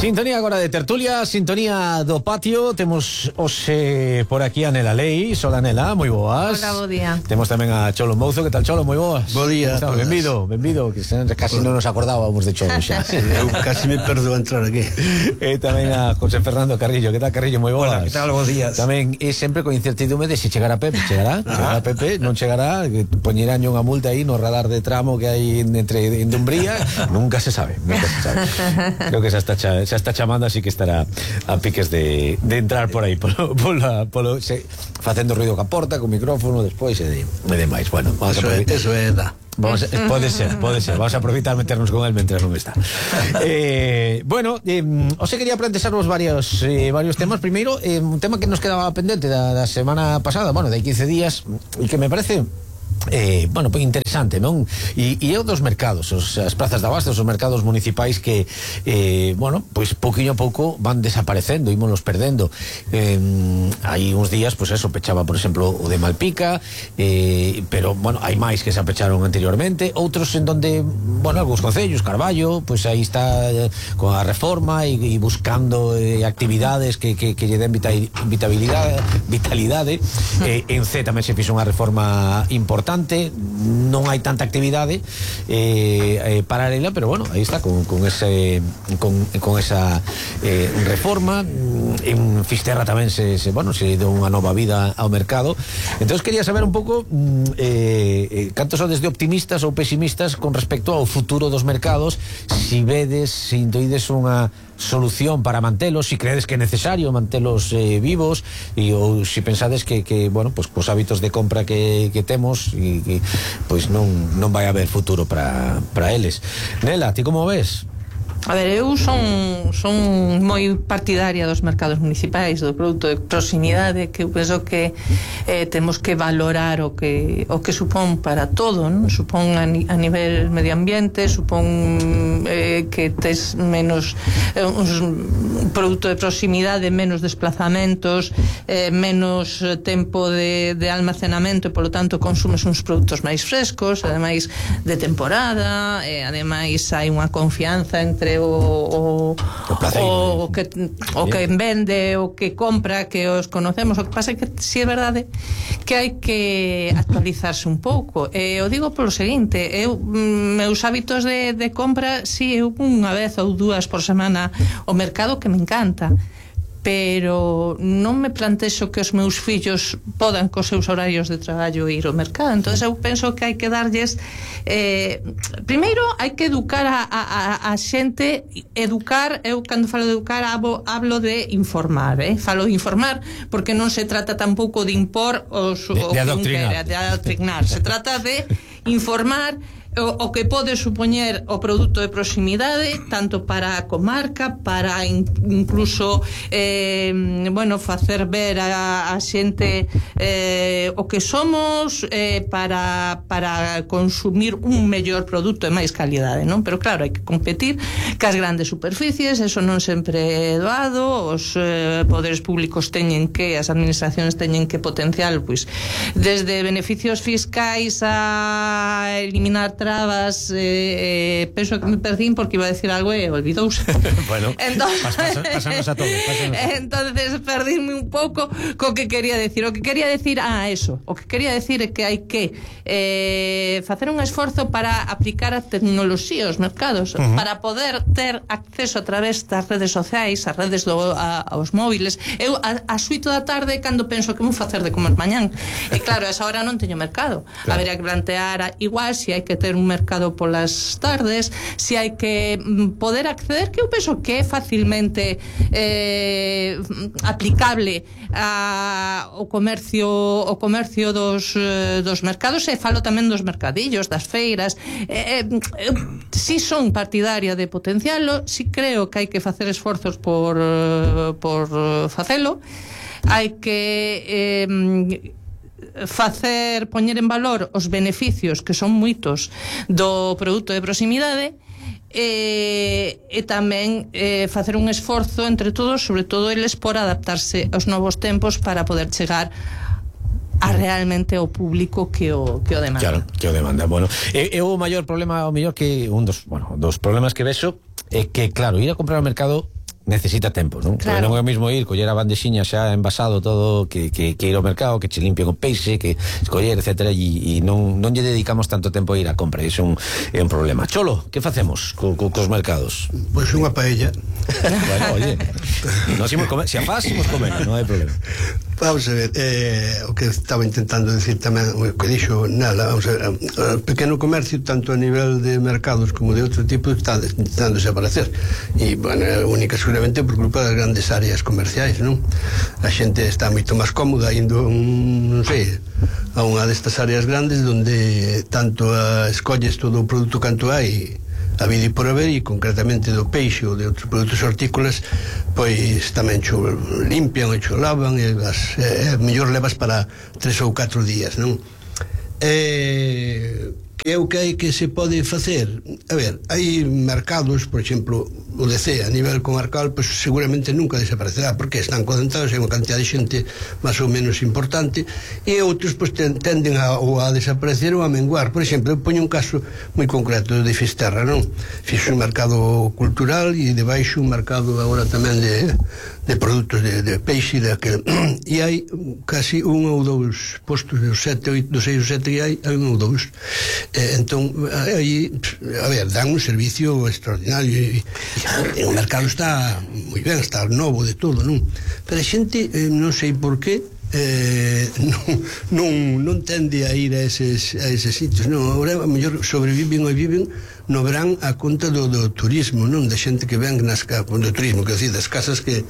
Sintonía agora de tertulia, sintonía do patio. Temos hoxe por aquí a Nela Leis. Hola Nela, moi boas. Hola, bo día. Temos tamén a Cholo Mouzo. Que tal, Cholo? Moi boas. Bo día. Benvido, que casi non nos acordábamos de Cholo xa. Eu casi me perdo a entrar aquí. E tamén a José Fernando Carrillo. Que tal, Carrillo? Moi boas. Hola, que tal? Bos días. Tamén é sempre con incertidumbre de se chegará Pepe. Chegará Pepe, non chegará, que poñerán unha multa aí no radar de tramo que hai entre en Dumbría. Nunca se sabe. Creo que xa está chamando, así que estará a piques de entrar por aí facendo ruido ca porta, con micrófono despois e demais. Bueno, eso é da. Pode ser. Vamos a aproveitar meternos con él mentras non está. Bueno, os quería plantexarvos varios temas. Primeiro, un tema que nos quedaba pendente da semana pasada, bueno, de 15 días, e que me parece bueno, pues interesante, non? E é o dos mercados, as prazas de abastos, os mercados municipais que bueno, pois pouquinho a pouco van desaparecendo, ímonos perdendo. Hai uns días, pois eso, pechaba, por exemplo, o de Malpica, pero, bueno, hai máis que se apecharon anteriormente, outros en donde, bueno, algúns concellos, Carballo, pois aí está con a reforma e buscando actividades que lle den vitalidade. En C tamén se fixo unha reforma importante, non hai tanta actividade paralela, pero bueno, aí está con esa reforma. En Fisterra tamén se deu unha nova vida ao mercado. Entonces quería saber un pouco cantos sodes de optimistas ou pesimistas con respecto ao futuro dos mercados, si vedes, si intuides unha solución para mantelos, si credes que é necesario mantelos vivos, ou si pensades que bueno, pues cos hábitos de compra que temos e pois non vai haber futuro para eles. Nela, ti como ves? A ver, eu son moi partidaria dos mercados municipais, do produto de proximidade, que eu penso que temos que valorar o que supón para todo, non? Supón a nivel medio ambiente, supón que tes menos un produto de proximidade, menos desplazamentos, menos tempo de almacenamento, e polo tanto consumes uns produtos máis frescos, ademais de temporada, ademais hai unha confianza entre o que vende, o que compra, que os conocemos. O que pasa é que si é verdade que hai que actualizarse un pouco. Eu digo polo seguinte, meus hábitos de compra, si eu unha vez ou dúas por semana o mercado, que me encanta, pero non me plantexo que os meus fillos podan cos seus horarios de traballo ir ao mercado. Entonces eu penso que hai que darlles primeiro hai que educar a xente. Educar, eu cando falo de educar hablo de informar, falo de informar porque non se trata tampouco de impor de adoctrinar, se trata de informar o que pode supoñer o produto de proximidade, tanto para a comarca, para incluso bueno, facer ver a xente o que somos, para consumir un mellor produto e máis calidade, non? Pero claro, hai que competir cas grandes superficies, eso non sempre é doado. Os poderes públicos as administracións teñen que potenciar, pois, desde beneficios fiscais a eliminar trabas. Penso que me perdín porque iba a decir algo e olvidouse. Bueno, pasamos a todos. Entonces perdíme un pouco co que quería decir. O que quería decir é que hai que facer un esforzo para aplicar a tecnoloxía aos mercados, para poder ter acceso a través das redes sociais, as redes aos móviles. Eu ás 8 da tarde, cando penso que vou facer de comer mañán, e claro, a esa hora non teño mercado. Habería que plantear igual se hai que ter un mercado polas tardes, se hai que poder acceder, que eu penso que é facilmente aplicable ao comercio dos mercados, e falo tamén dos mercadillos, das feiras. Si son partidaria de potencialo, si creo que hai que facer esforzos por facelo, hai que poñer en valor os beneficios, que son moitos, do produto de proximidade, e tamén facer un esforzo entre todos, sobre todo eles, por adaptarse aos novos tempos para poder chegar a realmente o público que o demanda. Claro, que o demanda. Bueno, o maior problema, o mellor, que un dos problemas que vexo é que, claro, ir a comprar ao mercado necesita tempo, non? Claro. Porque non é o mismo ir, coller a bandexiña xa envasado todo, que ir ao mercado, que che limpien o peixe, que escoller, etcétera, e non lle dedicamos tanto tempo a ir á compra, e iso é un problema. Cholo, que facemos cos mercados? Pois unha paella. Bueno, oye, nos imos comer, se a faz, imos comer, non hai problema. Vamos a ver, o que estaba intentando decir tamén, o que dixo Nela, vamos a ver, o pequeno comercio, tanto a nivel de mercados como de outro tipo, está intentando desaparecer. E, bueno, única seguramente por culpa das grandes áreas comerciais, non? A xente está moito máis cómoda indo, non sei, a unha destas áreas grandes onde tanto escolles todo o produto canto hai a vida e por haber, e concretamente do peixe ou de outros produtos hortícolas, pois tamén cho limpian e cho lavan, e mellor levas para 3 ou 4 días, non? Que é o que hai que se pode facer? A ver, hai mercados, por exemplo, o DC a nivel comarcal, pois seguramente nunca desaparecerá, porque están concentrados en unha cantidad de xente máis ou menos importante, e outros pois tenden a desaparecer ou a menguar. Por exemplo, eu poño un caso moi concreto de Fisterra, non? Fixo un mercado cultural e debaixo un mercado agora tamén de produtos de peixe, e hai casi un ou dous postos dos 6 ou 7 que hai un ou dous. Entón, aí, a ver, dan un servicio extraordinario, e o mercado está moi ben, está novo de todo, non? Pero a xente, non sei por qué, non tende a ir a eses sitios, non? Agora, a mellor sobreviven ou viven no verán a conta do turismo, non? Da xente que ven do turismo, que decir, das casas que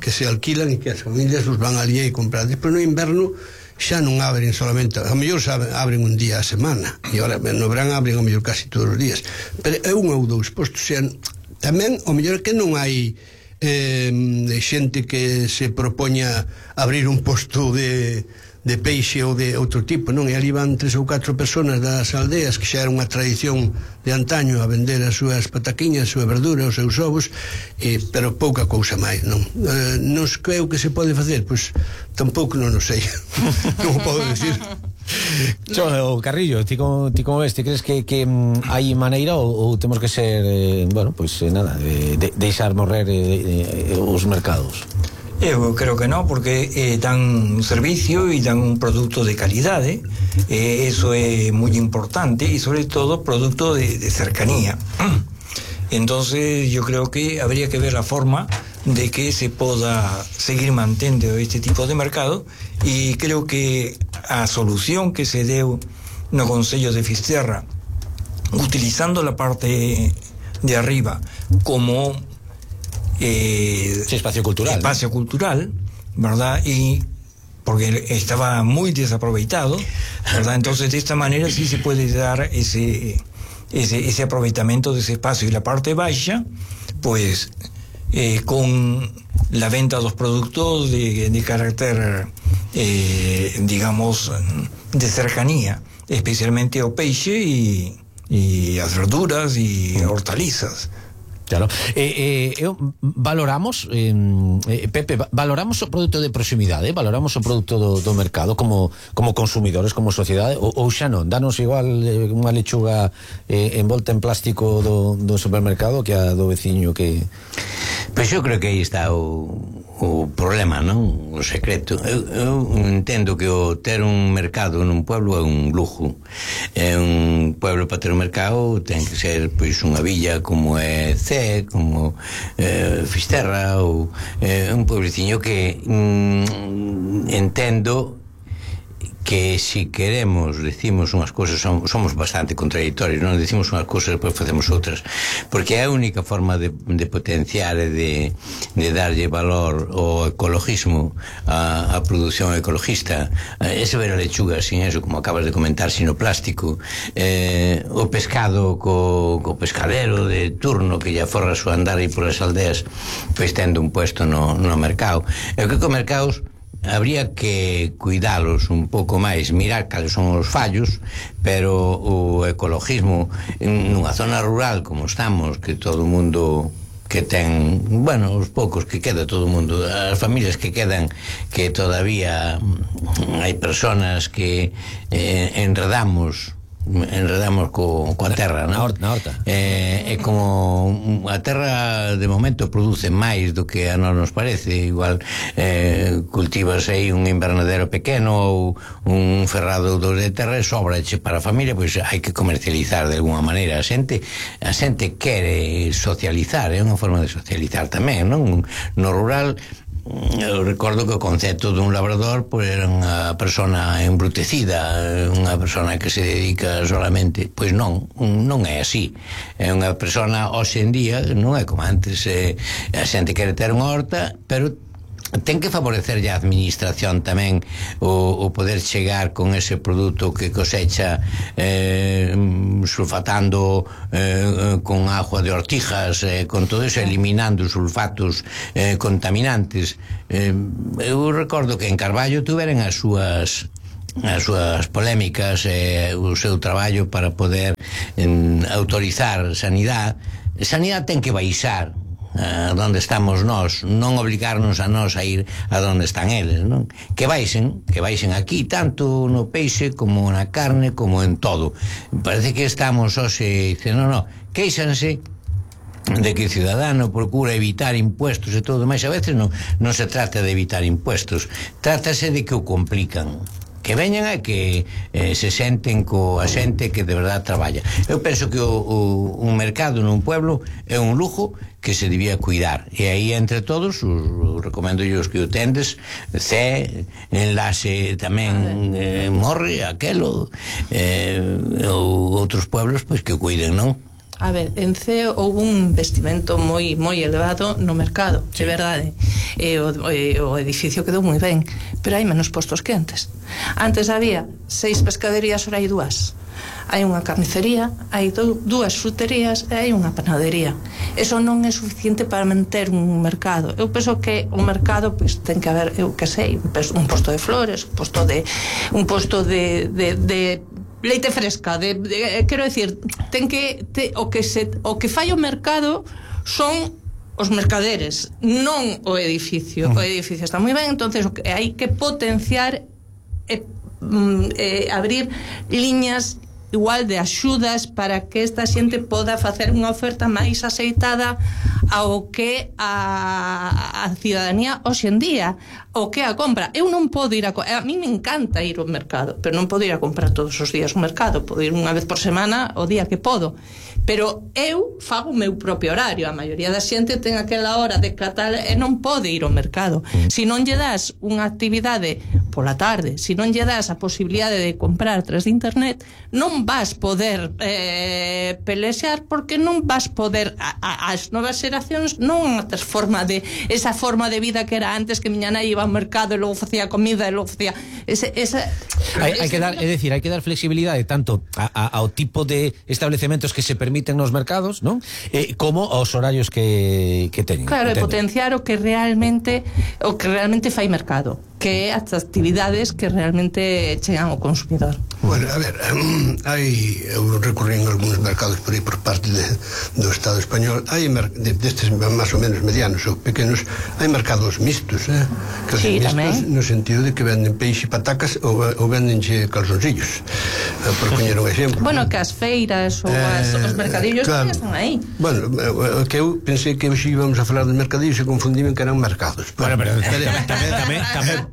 se alquilan e que as familias os van ali e comprar. Despois no inverno xa non abren solamente, a mellor abren un día a semana, e agora no verán abren a mellor casi todos os días, pero é un ou dous postos. Tamén o mellor é que non hai xente que se propoña abrir un posto de peixe ou de outro tipo, non? E ali van 3 ou 4 personas das aldeas, que xa era unha tradición de antaño, a vender as súas pataquiñas, a súa verdura, os seus ovos, pero pouca cousa máis, non? Non sei o que se pode facer, pois tampouco non o sei. Non o podo decir. Carrillo, ti como ves? Ti crees que hai maneira ou temos que ser, bueno, pois nada, deixar morrer os mercados? Eu creo que no, porque dan un servicio y dan un producto de calidade, eso é moi importante, y sobre todo producto de cercanía. Entonces yo creo que habría que ver la forma de que se poda seguir mantendo este tipo de mercado, y creo que a solución que se deu no Concello de Fisterra, utilizando la parte de arriba como espacio cultural, ¿verdad? Y porque estaba muy desaprovechado, ¿verdad? Entonces de esta manera sí se puede dar ese aprovechamiento de ese espacio. Y la parte baja, pues con la venta de los productos de carácter, digamos, de cercanía, especialmente o peixe y las verduras y hortalizas. Claro. Valoramos, Pepe, valoramos o produto de proximidade, valoramos o produto do mercado como consumidores, como sociedade, ou xa non? Danos igual unha lechuga envolta en plástico do supermercado que a do veciño que... Pois eu creo que aí está o problema, non? O secreto. Eu entendo que o ter un mercado nun pueblo é un lujo. É un pueblo para ter un mercado ten que ser pois unha villa como é Cee, como Fisterra, ou un puebleciño que entendo que si queremos decimos unhas cousas, somos bastante contradictorios, non decimos unhas cousas e depois facemos outras, porque é a única forma de potenciar e de darlle valor ao ecologismo, a produción ecologista, ese ver a lechuga sin eso, como acabas de comentar, sin o plástico, o pescado co pescadero de turno que lle aforra a súa andar aí polas aldeas, pois tendo un puesto no mercado. Eu creo que os mercados habría que cuidalos un pouco máis, mirar cales son os fallos, pero o ecologismo nunha zona rural como estamos, que todo o mundo que ten, bueno, os poucos que queda, todo o mundo, as familias que quedan, que todavía hai personas que enredamos enredamos coa terra, non? Na horta. É como a terra de momento produce máis do que a nos parece. Igual cultivas aí un invernadero pequeno ou un ferrado de terra e sobrache para a familia, pois hai que comercializar de alguna maneira. A xente quere socializar, é unha forma de socializar tamén, non? No rural, eu recordo que o concepto dun labrador pois era unha persona embrutecida, unha persona que se dedica solamente, pois non é así. É unha persona hoxe en día, non é como antes, a xente quere ter unha horta, pero ten que favorecer a administración tamén o poder chegar con ese produto que cosecha sulfatando con agua de ortijas, con todo eso, eliminando os sulfatos contaminantes. Eu recordo que en Carballo tuveran as súas polémicas, o seu traballo para poder autorizar sanidade ten que baixar a donde estamos nós, non obligarnos a nós a ir a donde están eles, non? Que baixen aquí, tanto no peixe como na carne, como en todo. Parece que estamos hoxe dicendo, queixanse de que o ciudadano procura evitar impuestos e todo, mas a veces non se trata de evitar impuestos, trátase de que o complican, que veñan a que se senten coa xente que de verdad traballa. Eu penso que un mercado nun pueblo é un lujo que se debía cuidar, e aí entre todos recomendo os que o tendes, Enlace tamén morre aquelo, ou outros pueblos pois que o cuiden, non? A ver, en Ceo houve un investimento moi elevado no mercado, sí. De verdade. O edificio quedou moi ben, pero hai menos postos que antes. Antes había 6 pescaderías, ora hai 2. Hai unha carnicería, hai 2 fruterías e hai unha panadería. Eso non é suficiente para manter un mercado. Eu penso que o mercado pois ten que haber, eu que sei, un posto de flores, un posto de leite fresca, quero decir, o que fai o mercado son os mercaderes, non o edificio. O edificio está moi ben, entonces hai que potenciar abrir liñas igual de axudas para que esta xente poda facer unha oferta máis aceitada ao que a ciudadanía hoxe en día, o que a compra. Eu non podo ir a mí me encanta ir ao mercado, pero non podo ir a comprar todos os días ao mercado, podo ir unha vez por semana o día que podo, pero eu fago o meu propio horario. A maioría da xente ten aquela hora de catar e non pode ir ao mercado. Se non lle das unha actividade pola tarde, se non lle das a posibilidade de comprar a través de internet, non vas poder pelexar, porque non vas poder as novas xeracións non esa forma de vida que era antes, que miña nai iba ao mercado e logo facía comida e logo facía hai que dar flexibilidade tanto ao tipo de establecementos que se permiten nos mercados, non? Como aos horarios que teñen. Claro, e potenciar o que realmente fai mercado, que é as actividades que realmente chegan ao consumidor. Bueno, a ver, eu recorrí en algúns mercados por aí por parte do Estado español, hai destes máis ou menos medianos ou pequenos, hai mercados mixtos, que sí, mixtos tamén, no sentido de que venden peixe e patacas ou vendenche calzoncillos, por poñer un exemplo. Bueno, que as feiras ou os mercadillos claro, están aí. Bueno, que eu pensei que hoxe íbamos a falar dos mercadillos e confundían que eran mercados. Bueno, pero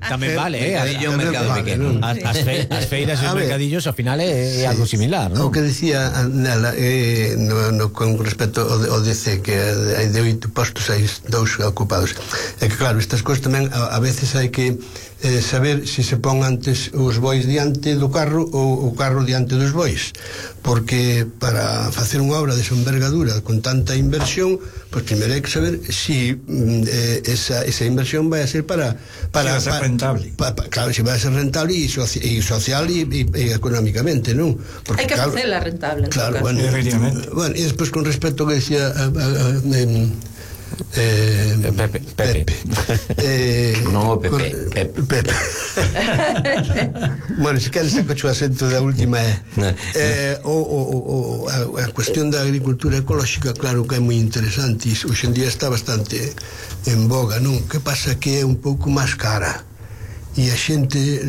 tamén vale, un mercado pequeno. As feiras e os mercadillos ao final é algo similar, non? O que decía nela con respecto ao DC, que hai de 8 postos hai 2 ocupados, é que claro, estas cousas tamén a veces hai que saber se se pon antes os bois diante do carro ou o carro diante dos bois, porque para facer unha obra desa envergadura con tanta inversión, pois primeiro hai que saber se esa inversión vai a ser para ser rentable. Claro, se vai a ser rentable e social e económicamente, non? Hai que facela rentable. Claro, bueno, e despois con respecto ao que decía Pepe. Non o Pepe. Bueno, se queres saco o acento da última a cuestión da agricultura ecolóxica, claro que é moi interesante, e hoxe en día está bastante en boga, non? Que pasa que é un pouco máis cara, e a xente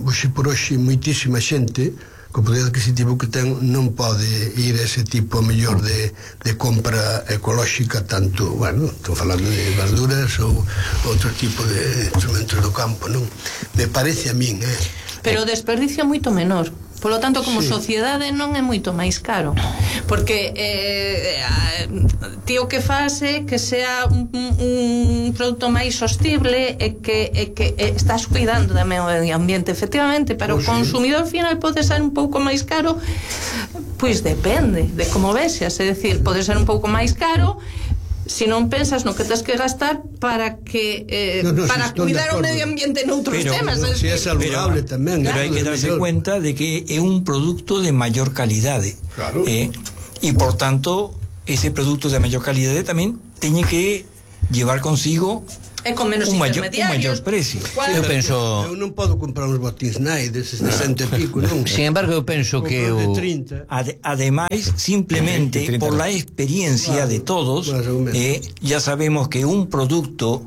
hoxe por hoxe moitísima xente co poder adquisitivo que ten, non pode ir a ese tipo mellor de compra ecolóxica, tanto, bueno, estou falando de verduras ou outro tipo de instrumentos do campo, non? Me parece a min, Pero o desperdicio é moito menor. Polo tanto, como sociedade non é moito máis caro, porque ti o que faz é que sea un produto máis sostible e que estás cuidando do medio ambiente, efectivamente. Para o consumidor final pode ser un pouco máis caro, pois depende de como vexas, é dicir, pode ser un pouco máis caro se non pensas no que tens que gastar para que para cuidar o medio ambiente noutros temas. Si é saludable tamén. Pero hai que darse cuenta de que é un producto de maior calidade. Claro. E por tanto, ese producto de maior calidade tamén teñe que llevar consigo e con menos un maior precio. Eu penso, eu non podo comprar uns botins Nike deses de 100 e pico, non? sin embargo, eu penso que ademais, simplemente por la experiencia de todos, ya sabemos que un producto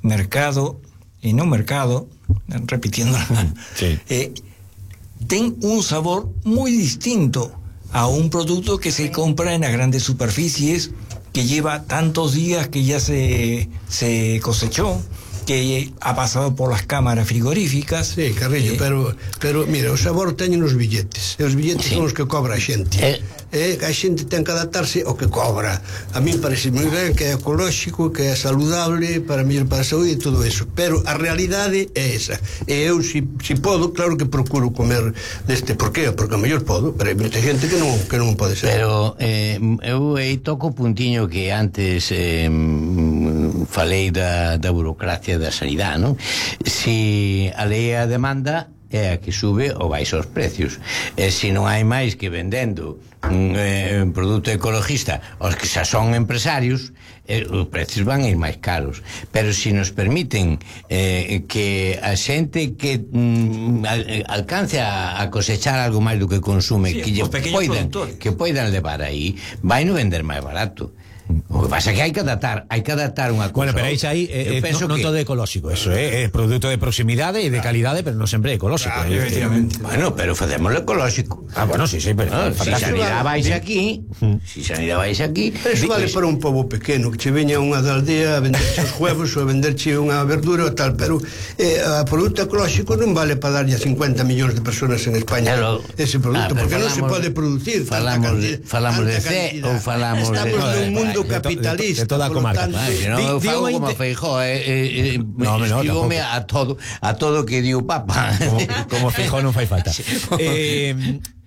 mercado e non mercado, repitiendo, ten un sabor moi distinto a un producto que se compra en las grandes superficies, que lleva tantos días que ya se cosechó, que ha pasado por las cámaras frigoríficas. Sí, Carrillo, pero mira, o sabor teñen os billetes, e os billetes son os que cobra a xente, a xente ten que adaptarse ao que cobra. A mí parece moi ben que é ecolóxico, que é saludable, para mellor para a saúde e todo eso, pero a realidade é esa. E eu, si podo, claro que procuro comer deste. Por qué? Porque a mellor podo, pero hai moita xente que non pode ser. Pero eu aí toco o puntiño que antes falei da burocracia da sanidade, non? Si a lei a demanda é a que sube ou baixa os precios, e se non hai máis que vendendo un produto ecologista os que xa son empresarios, os precios van a ir máis caros. Pero se nos permiten que a xente que alcance a cosechar algo máis do que consume, que poidan levar aí, vai no vender máis barato. O que pasa é que hai que adaptar unha cousa. Bueno, pero aí non todo é ecolóxico, eso é produto de proximidade e de calidade, pero non sempre é ecolóxico. Bueno, pero facémoslo ecolóxico. Bueno, sí, pero si sanidade vais aquí, pero eso vale para un pobo pequeno, que che veña unha da aldea a venderche os huevos ou a venderche unha verdura ou tal, pero a produto ecolóxico non vale para darlle a 50 millóns de personas en España ese produto, porque non se pode producir. Falamos de C ou falamos de... Estamos nun mundo capitalista, de toda a comarca. Non eu fago como Feijóo, estígome a todo que di o Papa. Como Feijóo non fai falta.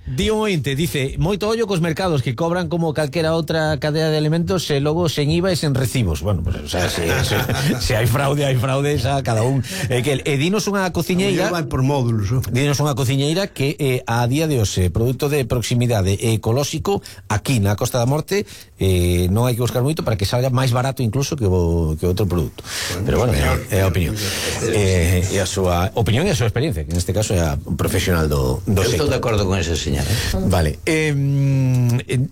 Dio ointe, dice, moito ollo cos mercados que cobran como calquera outra cadea de alimentos e logo sen IVA e sen recibos. Bueno, pues, o sea, se hai fraude, xa cada un. E dinos unha cociñeira, vai por módulos, dinos unha cociñeira que a día de hoxe, produto de proximidade ecolóxico, aquí na Costa da Morte, non hai que buscar moito para que salga máis barato incluso que outro produto. Pero bueno, é a opinión. E a súa opinión e a súa experiencia, que neste caso é a profesional do sector. Eu estou de acordo con ese señor. Vale,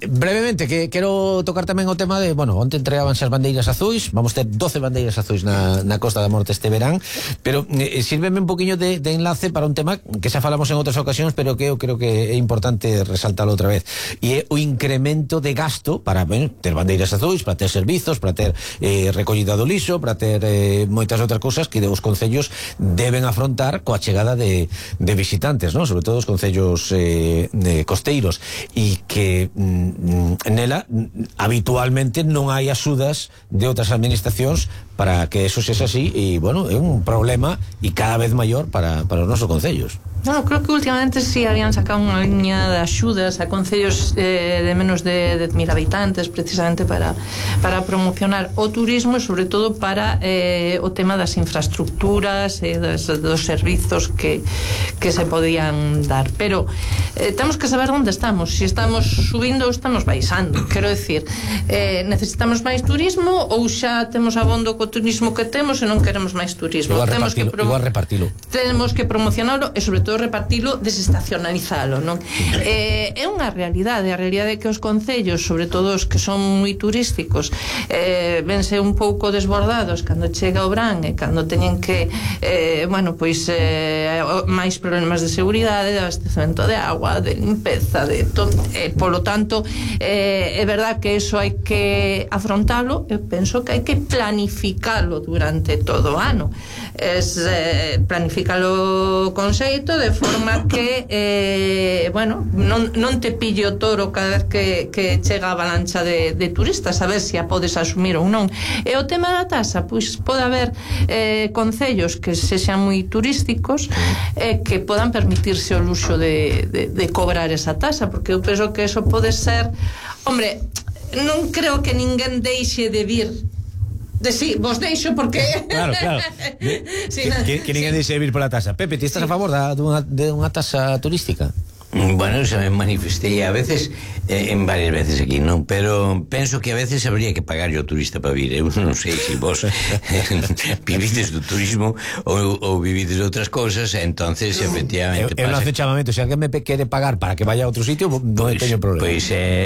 brevemente que quero tocar tamén o tema de, bueno, onte entregabanse as bandeiras azuis, vamos ter 12 bandeiras azuis na Costa da Morte este verán, pero sírveme un poquinho de enlace para un tema que xa falamos en outras ocasións, pero que eu creo que é importante resaltalo outra vez, e é o incremento de gasto para, bueno, ter bandeiras azuis, para ter servizos, para ter recollida do lixo, para ter moitas outras cousas que os concellos deben afrontar coa chegada de visitantes, non? Sobre todo os concellos costeiros, e que nela habitualmente non hai axudas de outras administracións para que eso sexa así, e bueno, é un problema e cada vez maior para os nosos concellos. No, creo que últimamente sí habían sacado unha liña de axudas a concellos de menos de 10.000 habitantes, precisamente para promocionar o turismo e sobre todo para o tema das infraestructuras e dos servizos que se podían dar. Pero temos que saber onde estamos, se estamos subindo ou estamos baixando. Quero decir, necesitamos máis turismo ou xa temos abondo co turismo que temos e non queremos máis turismo. Igual repartilo. Temos que promocionarlo e sobre todo todo repartilo, desestacionalizalo, non? É unha realidade, a realidade é que os concellos, sobre todo os que son moi turísticos, vense un pouco desbordados cando chega o verán e cando teñen que máis problemas de seguridade, de abastecemento de agua, de limpeza, de todo, polo tanto é verdad que eso hai que afrontalo. Eu penso que hai que planificalo durante todo o ano, planificalo con xeito, de forma que non te pille o toro cada vez que chega a avalancha de turistas, a ver se a podes asumir ou non. E o tema da tasa, pois pode haber concellos que sexan moi turísticos que podan permitirse o luxo de cobrar esa tasa, porque eu penso que eso pode ser, hombre, non creo que ninguén deixe de vir vos deixo porque claro sí, que ninguén deixe de vir pola tasa. Pepe, ti estás a favor de unha tasa turística? Bueno, se me manifestei a veces, en varias veces aquí, non? Pero penso que a veces habría que pagar o turista para vir. Eu non sei se vos vivides do turismo ou vivides de outras cousas, entonces efectivamente eu non hace chamamento, se alguén me quere pagar para que vaya a outro sitio, non teño problema. Pois